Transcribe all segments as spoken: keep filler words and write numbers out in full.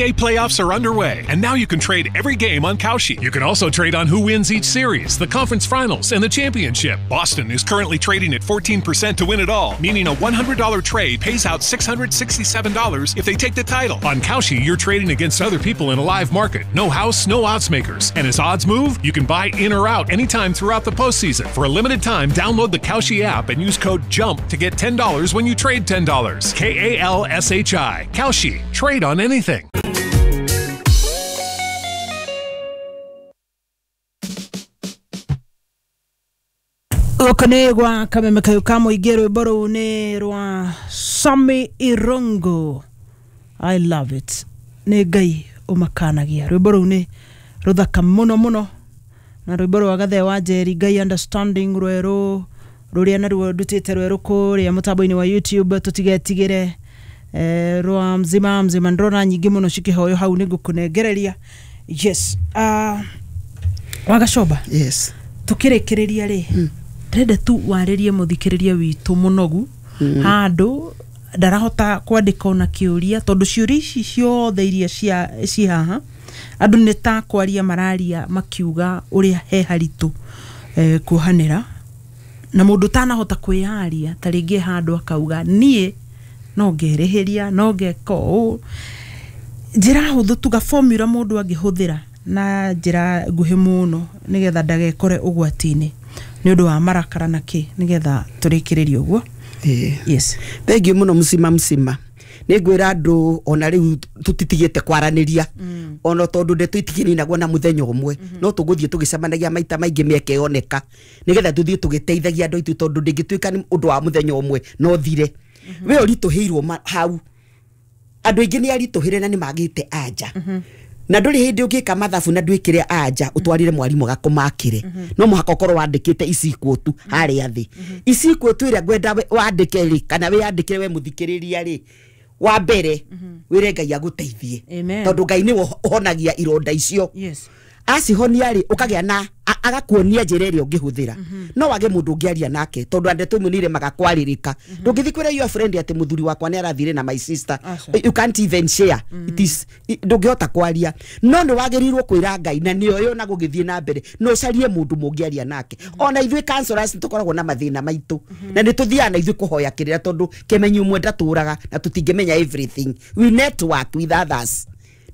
B A playoffs are underway, and now you can trade every game on Kalshi. You can also trade on who wins each series, the conference finals, and the championship. Boston is currently trading at fourteen percent to win it all, meaning a one hundred dollar trade pays out six hundred sixty-seven dollars if they take the title. On Kalshi, you're trading against other people in a live market. No house, no odds makers. And as odds move, you can buy in or out anytime throughout the postseason. For a limited time, download the Kalshi app and use code JUMP to get ten dollars when you trade ten dollars. K A L S H I. Kalshi. Trade on anything. Gũkũ nĩ gwa Kameme Kayũ ka Mũingĩ, rwĩmbo rũu nĩ rwa Sami Irungu. I love it. Nĩ Ngai ũmakanagia. Rwĩmbo rũu nĩ rũthaka mũno mũno, na rwĩmbo rwa Gathee wa Njeri, Ngai Understanding, rwerũ rũrĩa naruo ndutĩte rwerũ kũrĩa mũtambo-inĩ wa YouTube, tũtigetigĩre eh, rwa mzima mzima. Ndĩrona nyingĩ mũno cikĩhoywo hau, nĩ ngũkũnengereria. Yes. Uh, Wagacoba. Yes. Tukĩrĩkĩrĩria rĩ, ndĩrenda tu warĩrie mũthikĩrĩria witũ mũnogu handũ ndarahota kwandĩka ona kĩũria, tondũ ciũria ici ciothe iria cia ci haha andũ nĩ ta kwaria mararia makiuga ũrĩa he haritũ eh, kuohanĩra, na mũndũ ũtanahota kwĩyaria ta rĩngĩ handũ akauga niĩ no ngerĩhĩria, no ngeka ũũ. Njĩra hũthũ tuga formula mũndũ angĩhũthĩra na njĩra nguhĩ mũno nĩgetha ndagekore ũgwati-inĩ nĩ ũndũ wa marakara na kĩ, nĩgetha tũrĩkĩrĩrie ũguo. Eh. Yes. Thank you mũno mũcima mũcima. Nĩ ngwĩra andũ ona rĩu tũtitigĩte kwaranĩria, ona tondũ ndeto itikininagwo na mũthenya ũmwe, no tũgũthiĩ tũgĩcemanagia maita maingĩ mĩeke yoneka, nĩgetha tũthiĩ tũgĩteithagia andũ aitũ, tondũ ndĩngĩtuĩka nĩ ũndũ wa mũthenya ũmwe no thire. We ũritũhĩirwo hau, andũ aingĩ nĩ aritũhĩre na nĩ magĩte anja. Na ndũrĩ hĩndĩ ũngĩka mathabu na ndwĩkĩre anja ũtwarire mwarimũ gakũmakĩre, no mũhaka ũkorwo wandĩkĩte icikuũ tu harĩa thĩ. Icikuũ tu ĩrĩa ngwenda wandĩke rĩ, kana wĩyandĩkĩre we mũthikĩrĩria rĩ, wa mbere wĩre Ngai agũteithie, tondũ Ngai nĩwe ũhonagia ironda icio. Yes. Acihonia rĩ, ũkagĩa na agakuonia njĩra ĩrĩa ũngĩhũthĩra. No wage mũndũ ũngĩaria nake, tondũ ndeto imwe nĩ iremaga kwarĩrĩka. Ndũngĩthiĩ kwĩra your friend atĩ mũthuri wakwa nĩ arathire na my sister. You can't even share. It is ndũngĩhota kwaria. No nĩ wagĩrĩirwo kwĩra Ngai, na nĩoĩ ona gũgĩthiĩ na mbere, no ũcarie mũndũ mũngĩaria nake. Ona ithuĩ counselors tũkoragwo na mathĩna maitũ, na nĩ tũthiaga na ithuĩ kũhoya kĩrĩra, tondũ kĩmenyi ũmwe ndatũraga na tũtingĩmenya everything. We network with others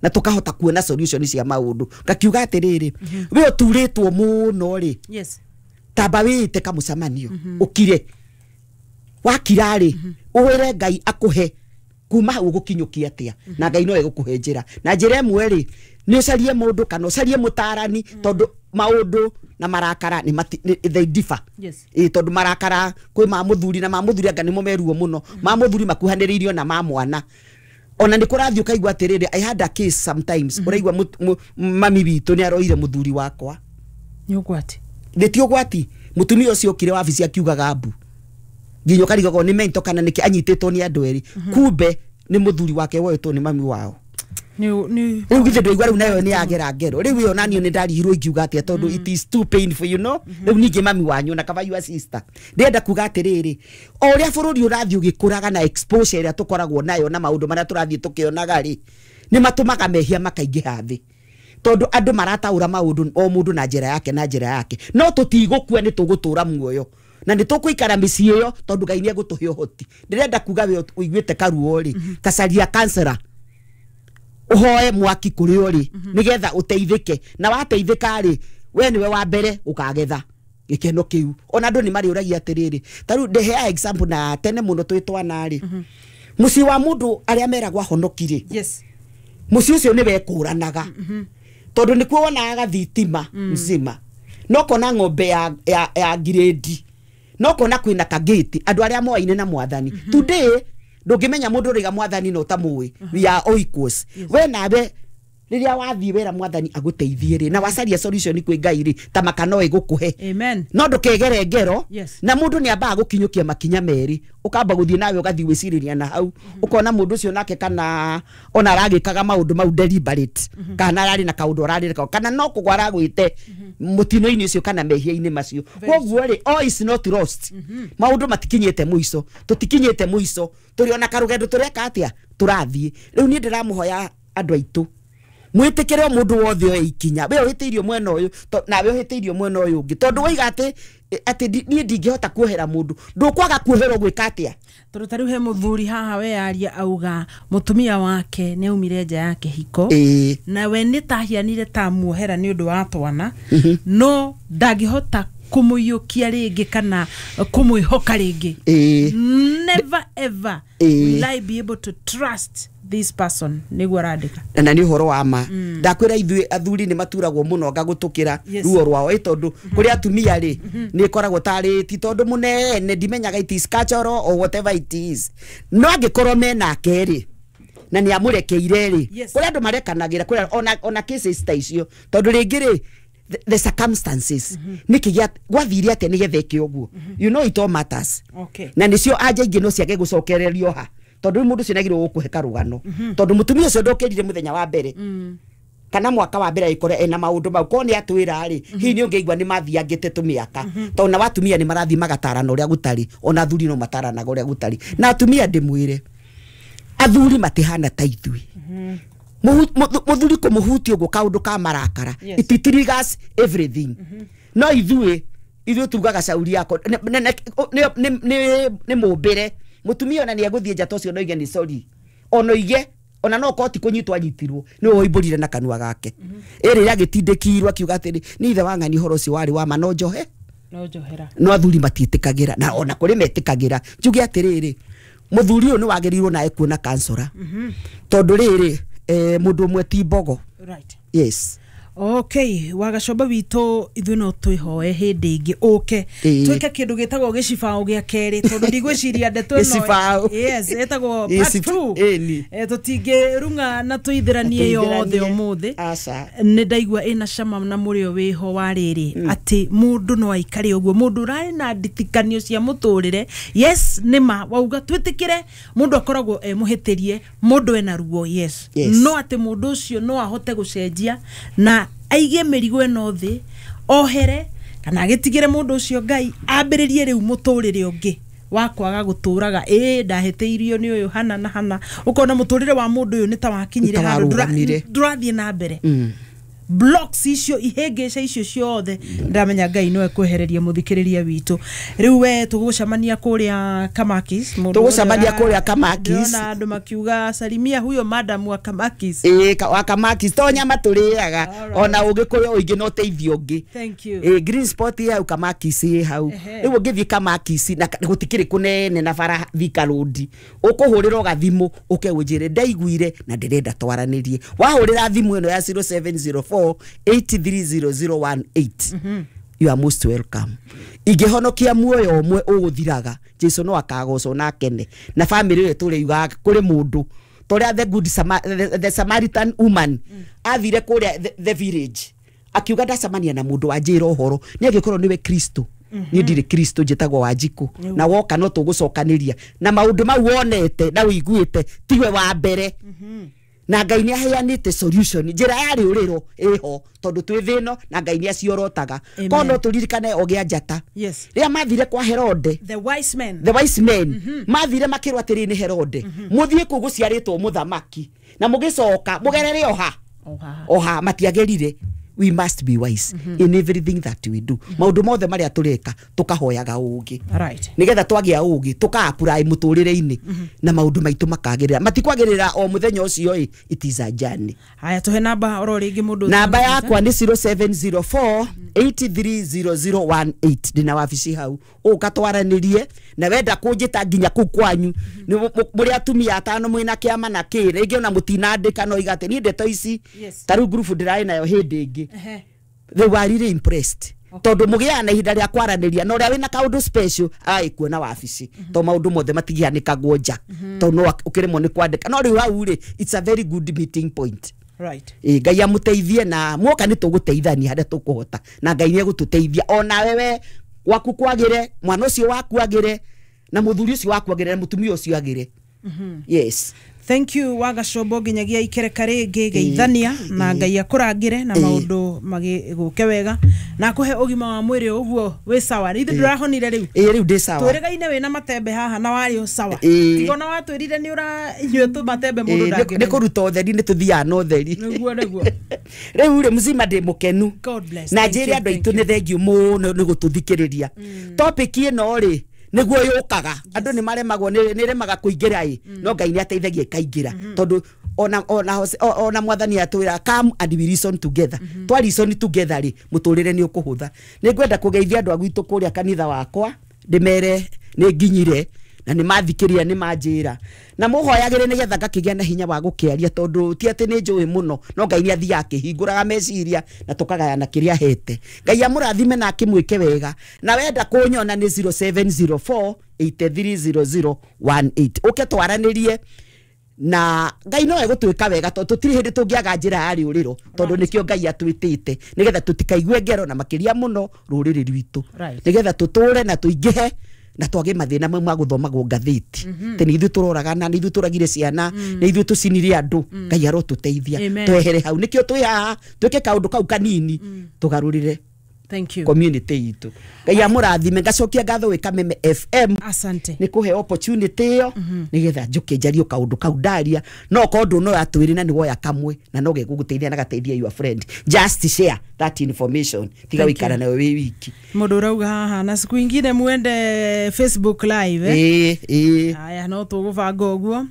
na tukahota kuona solution cia maundu. Ngakiuga atiriri, we uturitwo muno ri, Yes. tamba wite kamucemanio ukire wakira ri, uwire Ngai akuhe kuma hau ugukinyukia atia, na Ngai no egukuhe njira. Na njira ĩmwe ri, ni ucarie mundu kana ucarie mutarani, tondu maundu na marakara ni they differ. Yes. Ĩ tondu marakara kwi ma muthuri na ma muthuri anga nimo meruo muno, ma muthuri makuhanĩrĩirio na ma mwana. Ona nĩ kũrathiĩ ũkaigua atĩrĩrĩ, I had a case sometimes, ũraigua mami witũ nĩ aroire mũthuri wakwa. Nĩ ũgwati. Nĩ ti ũgwati. Mũtumia ũcio okire wabici akiugaga mbu, nginya ũkarigagwo nĩ mento kana nĩkĩ anyitĩtwo nĩ andũ erĩ, kumbe nĩ mũthuri wake woetwo nĩ mami wao. Nĩ rĩu githĩ ndũigua rĩu nayo nĩ yagera ngero. Rĩu ĩyo naniĩ nĩ ndarigirwo ingiuga atĩa, tondũ it is too painful, you know. Rĩu ningĩ mami wanyu na kaba your sister. Ndĩrenda kuga atĩrĩrĩ, o ũrĩa bũrũri ũrathiĩ ũgĩkũraga na exposure ĩrĩa tũkoragwo nayo na maũndũ marĩa tũrathiĩ tũkĩonaga rĩ, nĩ matũmaga mehia makaingĩha thĩ, tondũ andũ marataũra maũndũ o mũndũ na njĩra yake na njĩra yake. No tũtigũkua, nĩ tũgũtũra muoyo na nĩ tũkũikara mĩciĩ ĩyo, tondũ Ngai nĩ egũtũhe ũhoti. Ndĩrenda kuga we ũiguĩte karuo rĩ, tacaria counselor, uhoe mwaki kũrĩ ũrĩ, nĩgetha ũteithĩke. Na wateithĩka rĩ, we nĩwe wa mbere ũkagetha gĩkeno kĩu. Ona andũ nĩ marĩũragia atĩrĩrĩ, ta rĩu ndeheaga example na tene mũno twĩ twana rĩ, mũciĩ wa mũndũ arĩa meragwo ahonoki rĩ, Yes. mũciĩ ũcio nĩ wekũranaga, tondũ nĩkuo wonaga gathitima mzima, no kona ng'ombe ya, ya, ya ngirĩndi, no kona kwĩna kagĩti, andũ arĩa moaine na mwathani. Today ndũngĩmenya mũndũ ũrĩga mwathani no ũtamũĩ. We are all equals. We nawe rĩrĩa wathiĩ wĩra mwathani agũteithie rĩ, na wacaria solution kwĩ Ngai rĩ, ta maka no ĩgũkũhe. Amen. No ndũkegere ngero. Yes. Na mũndũ nĩ ambaga gũkinyũkia makinya merĩ, ũkamba gũthiĩ nawe ũgathiĩ gwĩcirĩria na hau, ũkona mũndũ ũcio nake kana ona aragĩkaga maũndũ mau deliberate, kana ararĩ na kaũndũ ararĩ kana no kũgwa aragwĩte mũtino-inĩ ũcio kana mehia-inĩ macio. Koguo rĩ, all is not lost. Maũndũ matikinyĩte mũico, tũtikinyĩte mũico, tũrĩ ona karũgendo tũreka atĩa, tũrathiĩ. Rĩu niĩ ndĩramũhoya andũ aitũ mwĩtĩkĩre o mũndũ wothe oe ikinya we ũhĩtĩirio mwena ũyũ nawe ũhĩtĩirio mwena ũyũ ũngĩ tondũ waiga atĩ atĩ niĩ ndingĩhota kuohera mũndũ ndũkwaga kuoherwo gwĩka atĩa tondũ ta rĩu he mũthuri haha we aria auga mũtumia wake nĩ aumire nja ya kĩhiko na we nĩ tahianire ta muohera nĩ ũndũ wa twana no ndangĩhota kũmũiyũkia rĩngĩ kana kũmwĩhoka rĩngĩ. Never ever will I be able to trust this person nĩguo arandĩka na nĩ ũhoro wa ma ndakwĩra ithuĩ athuri nĩ maturagwo mũno ngagũtũkĩra ruo rwao ĩ tondũ kũrĩ atumia rĩ nĩ ĩkoragwo tarĩ ti tondũ mũnene ndimenyaga it is cultural or whatever it is no angĩkorwo menake rĩ na nĩ amũrekeire rĩ kũrĩ andũ marekanagĩra kũrĩ ona ona cases ta icio tondũ rĩngĩ rĩ the, the circumstances niki gya gwathire atia nigetha eke uguo you know it all matters. Okay. Na nicio anja ingi no ciage gucokererio ha tondu mundu ucio nagirwo gukuhe karugano tondu mutumia ucio ndokirire muthenya wa mbere kana mwaka wa mbere ikore ena maundu mau ko ni atwira ri hihi ni ungeigua ni mathiangite tumiaka tondu na watumia ni marathi magatarana uria gutari ona athuri no mataranaga uria gutari na atumia ndimwire athuri matihana ta ithui muthuri kumuhutia uguo kaundu ka marakara it triggers everything. No ithuĩ ithuĩ tugaga cauri yako nĩ mũmbĩre mutumia ona nĩ egũthiĩ nja ta ũcio no oige nĩ sorry ona oige ona no koti kũnyitwo anyitirwo nĩ woimbũrire na kanua gake ĩrĩ agĩtindĩkirwo akiuga atĩrĩ nĩ ithe wa ng'ani ũhoro ũcio warĩ wa ma no njohe no njohera no athuri matiĩtĩkagĩra na ona kũrĩ metĩkagĩra njuge atĩrĩrĩ mũthuri ũyũ nĩ wagĩrĩirwo nawe kuona kansora tondũ rĩrĩ eh mundu umwe ti mbogo. Right. Yes. Okay, wagacoba witũ ithuĩ no twĩhoe hĩndĩ ĩngĩ ũke twĩke kĩndũ gĩtagwo gĩcibaũ gĩa kerĩ tondũ ndigwĩciria ndeto ĩno yes ĩtagwo part two eh tũtingĩrung'a na tũithĩranie yothe ũmũthĩ nĩ ndaigua ĩna cama na mũrĩo wĩho wa rĩrĩ atĩ mũndũ no aikare ũguo mũndũ ũrarĩ na nditikanio cia mũtũrĩre yes nĩma wauga twĩtĩkĩre mũndũ akoragwo e mũhĩtĩrie mũndũ ena ruo yes no atĩ mũndũ ũcio no ahote gũcenjia na aige mĩrigo ĩno thĩ ohere kana agĩtigĩre mũndũ ũcio Ngai ambĩrĩrie rĩu mũtũrĩre ũngĩ wa kwaga gũtũraga ĩ ndahĩtĩirio nĩ ũyũ hana na hana ũkona mũtũrĩre wa mũndũ ũyũ nĩ ta wakinyire handũ ndũrathiĩ na mbere blocks icio ihĩngĩca icio ciothe ndamenya Ngai no ekwehereria mũthikĩrĩria witũ rĩu we tũgũcemania kũrĩa Kamakis tũgũcemania kũrĩa Kamakis ndĩrona andũ makiuga salimia huyo madam wa Kamakis ĩ wa Kamakis to nyama tũrĩaga ona ũngĩkũrĩa ũingĩ no teithio ũngĩ thank you ĩ green spot ĩ hau Kamakis ĩ hau rĩu ũngĩthiĩ Kamakis na gũtikĩrĩ kũnene na bara Thika Road ũkũhũrĩra ũgathimũ ũke ũnjĩre ndaiguire na ndĩrenda twaranĩrie wahũrĩra thimũ ĩno ya zero seven zero four eight three zero zero one eight. You are most welcome. Ingĩhonokia muoyo ũmwe ũgũthiraga Jesu no akagocwo na akene na family ĩyo tũrĩ yugaga kũrĩ mũndũ toria the good Sama, the, the Samaritan woman athire kũrĩa the, the village akiuga ndacemania na mũndũ wanjĩra ũhoro nĩ angĩkorwo nĩwe Kristo niĩ ndirĩ Kristo njĩtagwo Wanjikũ na woka no tũgũcokanĩria na maũndũ mau wonete na ũiguĩte tiwe wa mbere na Ngai nĩ aheanĩte solution njĩra ya rĩũrĩro ĩho tondũ twĩ thĩno na Ngai nĩ aciorotaga ko no tũririkane o gĩa njata rĩrĩa mathire kwa Herode the wise men the wise men mathire makĩrwo atĩrĩ nĩ Herode mũthiĩ kũu gũciarĩtwo mũthamaki na mũgĩcoka mũgerere oha oha matiagerire. We must be wise mm -hmm. in everything that we do. Maundu mothe maria tureka tukahoyaga ugi right nigetha twagia ugi tuka-apply muturire-ini na maundu maitu makagirira matikwagirira o muthenya ucio i it is a journey. Haya tuhe namba oro ringi mundu namba yakwa ni zero seven zero four eight three zero zero one eight ndina wabici hau uka twaranirie na wenda kunjita nginya kuu kwanyu ni muri atumia atano mwina kiama na ki ringi ona mutinandika no igate ni ndeto ici ta riu group ndirai nayo hindi ingi they were really impressed tondu mugiaga na ihinda ria kwaraniria na uria wina kaundu special ai kuona wabici to maundu mothe matigianikagwo nja to no ukiremwo ni kwandika no riu hau ri it's a very good meeting point. Right. Eh Ngai amuteithie na mwoka ni tuguteithania haria tukuhota na Ngai ni egututeithia ona wewe waku kwagire mwana ucio waku agire na muthuri ucio waku agire na mutumia ucio agire. Yes. Thank you Wagacombo, nginyagia ikereka rĩngĩ geithania na Ngai akũrangĩre na Ĩĩ. maũndũ magĩgũke wega na akũhe ũgima wa mwĩrĩ ũguo wĩ sawa. Ithuĩ ndũrahonire rĩu? Ĩĩ, rĩu ndĩ sawa. Twĩrĩgaine wĩna matembe haha na warĩ o sawa. Ĩĩ. Tiga ona watwĩrire nĩ ũranyua tũmatembe mũndũ Ĩĩ, nĩ ndangĩmenya. kũruta ũtheri, nĩ tũthiaga na ũtheri. Nĩguo, nĩguo. Rĩu rĩ, mzima ndĩ mũkenu. God bless. Na Thank njĩre you, andũ thank aitũ nĩ thengiũ mũno nĩ gũtũthikĩrĩria. Topic ĩno rĩ, nĩguo yũkaga andũ nĩ maremagwo, nĩ nĩ remaga kũingĩra ĩ, no Ngai nĩ ateithagia ĩkaingĩra, tondũ ona ona Hose- o- ona Mwathani atwĩra, "Come and we reason together." Twa reason together rĩ, mũtũrĩre nĩ ũkũhũtha. Nĩ ngwenda kũgeithia andũ a gwitũ kũrĩa kanitha wakwa, ndĩmere nĩ nginyire na nĩ mathikĩria, nĩ manjĩra na mũhoyagĩre nĩgetha ngakĩgĩa na hinya wa gũkĩaria, tondũ ti atĩ nĩ njũĩ mũno, no Ngai nĩ athiaga akĩhingũraga meciria na tũkagayana kĩrĩa ahete. Ngai amũrathime na akĩmwĩke wega. Na wenda kũnyona nĩ zero seven zero four eight three zero zero one eight, ũke twaranĩrie na Ngai no egũtwĩka wega, tondũ tũtirĩ hĩndĩ tũngĩaga njĩra ya rĩũrĩro, tondũ nĩkĩo Ngai atwĩtĩte, nĩgetha tũtikaigue ngero na makĩria mũno rũrĩrĩ rwitũ, Right. nĩgetha tũtũre na tũingĩhe na twage mathĩna mau ma gũthomagwo ngathĩti tĩ nĩ ithuĩ tũroragana, nĩ ithuĩ tũragire ciana, nĩ ithuĩ tũcinire andũ. Ngai arotũteithia. Amen. Twehere hau, nĩkĩo twĩ haha, twĩke kaũndũ kau kanini tũgarũrĩre Thank you. community itũ. Ngai amũrathime. Ngacokia ngatho gwĩ Kameme F M Asante. nĩ kũhe opportunity ĩyo nĩgetha njũke njarie kaũndũ kau ndaria. No korwo ndũnoya twĩrĩ na nĩ woya kamwe na no gegũgũteithia na gateithia your friend, just share that information, tiga Thank wĩikara you. nayo wĩ wiki. Mũndũ ũrauga haha na siku ingine muende Facebook Live, eh? Ĩĩ, ĩĩ. Aya, no tũgũbanga ũguo.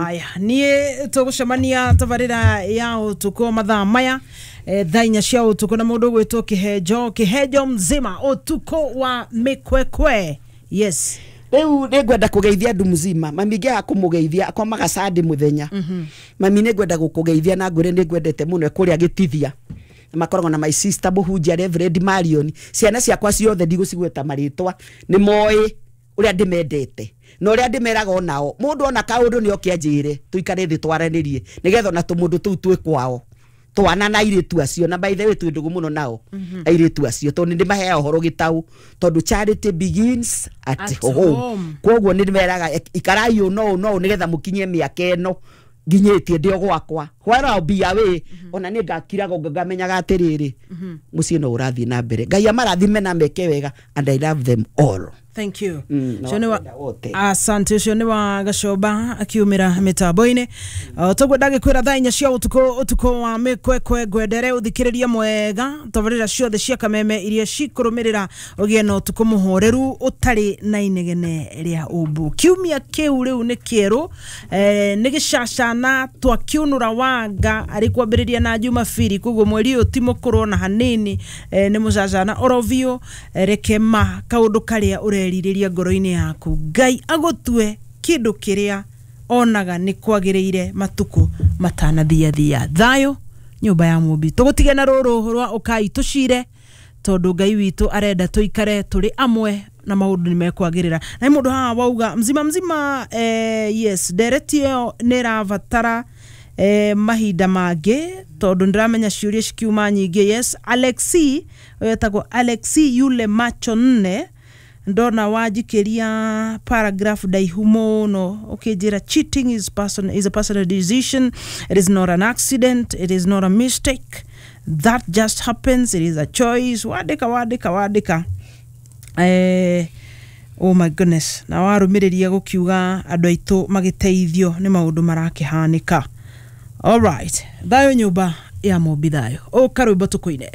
Aya, niĩ tũgũcemania tabarĩra ya ũtukũ mathaa maya, eh, thaa inya cia ũtukũ, na mũndũ ũgwĩtwo Kĩhenjo, Kĩhenjo mzima, ũtukũ wa mĩkwekwe, yes. Rĩu nĩ ngwenda kũgeithia andũ mzima. Mami ngĩaga kũmũgeithia akomaga sandi mũthenya. Mami, nĩ ngwenda gũkũgeithia na ngwĩre nĩ ngwendete mũno kũrĩa gĩtithia. Na makoragwo na my sister mũhunjia Reverend Marion. Ciana ciakwa ciothe ndigũcigweta marĩtwa, nĩ moĩ ũrĩa ndĩmendete na ũrĩa ndĩmeraga onao. Mũndũ ona kaũndũ nĩ oke anjĩre, tũikare thĩ twaranĩrie, nĩgetha ona tũmũndũ tũu twĩ kwao twana na airĩtu acio. Na by the way, twĩ ndũgũ mũno nao airĩtu acio, tondũ nĩ ndĩmaheaga ũhoro gĩtaũ, tondũ charity begins at, At home. home. Koguo nĩ ndĩmeraga, ikarai ũũ no ũũ no ũũ nĩgetha mũkinyie mĩaka ĩno nginyĩtie ndĩ o gwakwa. While I'll be away, ona nĩ ngakiraga ngamenyaga atĩrĩrĩ, mũciĩ no ũrathiĩ na mbere. Ngai amarathime na meke wega, and I love them all. Thank you. Mm, na Ũcio nĩ wa- wapenda wote. Asante. Ũcio nĩ wa Gacoba akiumĩra mĩtambo-inĩ. Toguo ndagĩkwĩra thaa inya cia ũtukũ, ũtukũ wa mĩkwekwe. Ngwendere ũthikĩrĩrie mwega tabarĩra ciothe cia Kameme iria cikũrũmĩrĩra, ũgĩe na ũtukũ mũhoreru ũtarĩ na inegene rĩa ũmbu. Kiumia kĩu rĩu nĩ kĩerũ, eh, nĩ gĩcacana twakiũnũra wanga arĩ kwambĩrĩria na Jumabiri, koguo mweri ũyũ ti mũkũrũ ona hanini, eh, nĩ mũcacana oro biũ. eh, reke ma kaũndũ karĩa ũrerirĩria ngoro-inĩ yaku, Ngai agũtue kĩndũ kĩrĩa onaga nĩ kwagĩrĩire matukũ matanathiathia. Thayũ nyũmba ya mũmbi, tũgũtige na rũrũ rwa ũkai tũcire, tondũ Ngai witũ arenda tũikare tũrĩ amwe na maũndũ nĩ mekwagĩrĩra. Na nĩ mũndũ haha wauga mzima mzima, eh, yes, ndereti ĩyo nĩ ĩrabatara eh, mahinda mangĩ, tondũ ndĩramenya ciũria cikiuma nyingĩ. Yes, Alexi ũyũ etagwo Alexi yule macho nne, ndona wanjikĩria paragraph ndaihu mũno ũkĩnjĩra cheating is, person, is a personal decision. It is not an accident, it is not a mistake that just happens, it is a choice. Wandĩka, wandĩka, wandĩka, eh, oh my goodness. Na warũmĩrĩria gũkiuga andũ aitũ magĩteithio nĩ maũndũ marakĩhanĩka. Alright, thayũ nyũmba ya mũmbi, thayũ. Ũka rwĩmbo tũkũine.